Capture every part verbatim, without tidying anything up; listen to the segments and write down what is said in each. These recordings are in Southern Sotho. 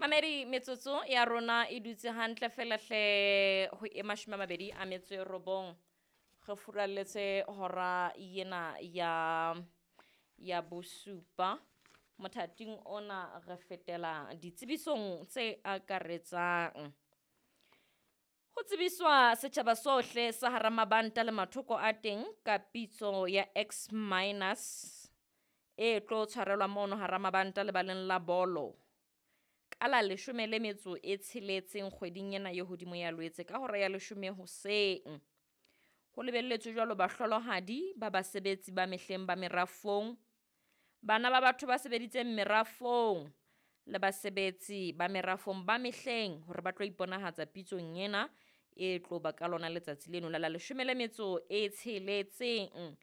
Mamedi, metsotso ya rona e dutse hantle fela hle ho e mashome a mabedi a metso e robong. Re furalletse hora ena ya ya bosupa. Mothating ona re fetela ditsebisong tse akaretsang. Ho tsebiswa setjhaba sohle sa hara mabanta le mathoko a teng ka pitso ya X minus e tlo tshwarelwa mono hara mabanta lebaleng la bolo ka la leshome le metso e tsheletseng kgweding ena ye hodimo ya Lwetse ka hora ya leshome hoseng. Ho lebelletswe jwalo bahlolohadi ba basebetsi ba mehleng ba merafong, bana ba batho ba sebeditseng merafong le basebetsi ba merafong ba mehleng hore ba tlo iponahatsa pitsong ena e tlo ba ka lona letsatsi leno la la leshome le metso e tsheletseng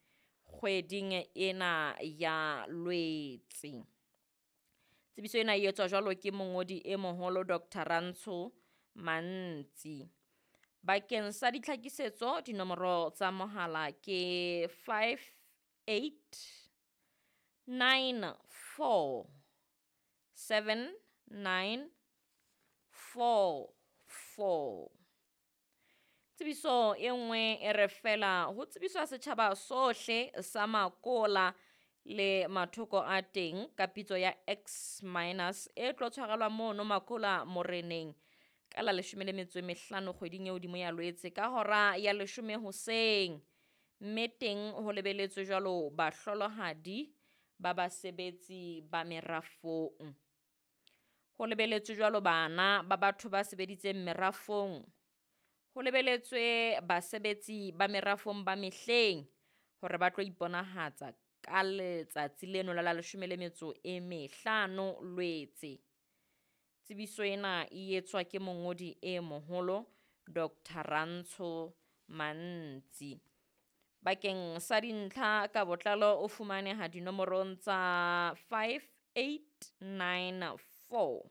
kgweding ena ya Lwetse. Tsebiso ena e etswa jwalo ke mongodi e moholo Doctor Rantsho Mantsi. Bakeng sa ditlhakisetso dinomoro tsa mohala ke five eight nine four seven nine four four. Tsebiso e nngwe e re fela ho tsebiswa setjhaba sohle sa Makola le mathoko a teng ka pitso ya X minus e tlo tshwarelwa mono Makola Moreneng ka la leshome le metso e mehlano kgweding e hodimo ya Lwetse ka hora ya leshome hoseng. Mme teng ho lebeletswe jwalo bahlolohadi ba basebetsi ba merafong. Ho lebeletswe jwalo bana ba batho ba sebeditseng merafong. Ho lebeletswe basebetsi ba merafong ba mehleng hore ba tlo iponahatsa ka letsatsi leno la la leshome le metso e mehlano Lwetse. Tsebiso ena e etswa ke mongodi e moholo Doctor Rantsho Mantsi. Bakeng sa dintlha ka botlalo o fumaneha dinomorong tsa five eight nine four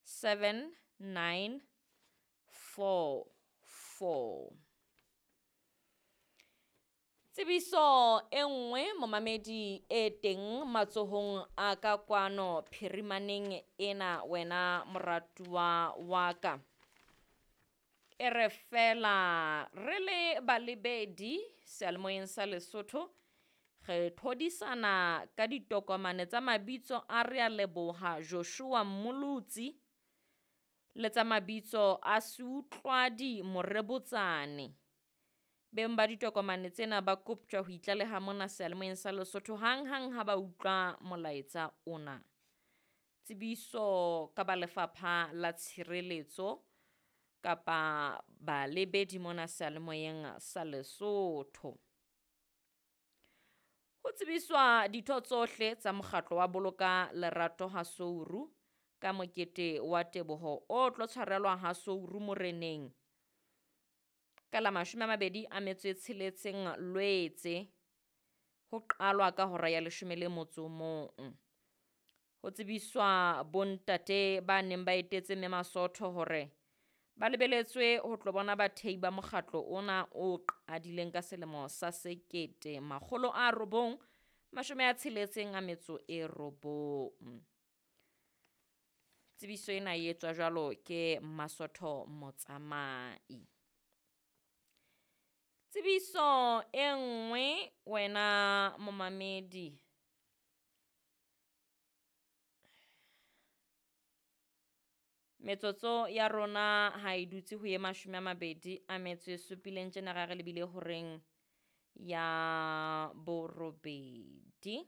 seven nine four four. Tsebiso e nngwe momamedi e teng matsohong a ka kwano phirimaneng ena wena moratuwa wa ka. E re fela re le balebedi seyalemoyeng sa Lesotho re thodisana ka ditokomane tsa mabitso a re a leboha Joshua Mmolotsi le tsa mabitso a Seutlwadi Morebotsane. Beng ba ditokomane tsena ba koptjwa ho itlaleha mona seyalemoyeng sa Lesotho hang-hang ha ba utlwa molaetsa ona. Tsebiso ka ba lefapha la tshireletso kapa balebedi mona seyalemoyeng sa Lesotho. Ho tsebiswa ditho tsohle tsa mokgatlo wa Boloka Lerato ha Souru ka mokete wa teboho o tlo tshwarelwa ha Souru Moreneng ka la mashome a mabedi a metso e tsheletseng Lwetse ho qalwa ka hora ya leshome le motso o mong. Ho tsebiswa bontate ba neng ba etetse mme Masotho hore ba lebeletswe ho tlo bona bathei ba mokgatlo ona o qadileng ka selemo sa sekete makgolo a robong mashome a tsheletseng a metso e robong. Tsebiso ena e etswa jwalo ke Masotho Motsamai. Tsebiso e nngwe wena momamedi metsotso ya rona ha e dutse ho ye mashome a mabedi a metso e supileng tjena ra re lebile horeng ya borobedi.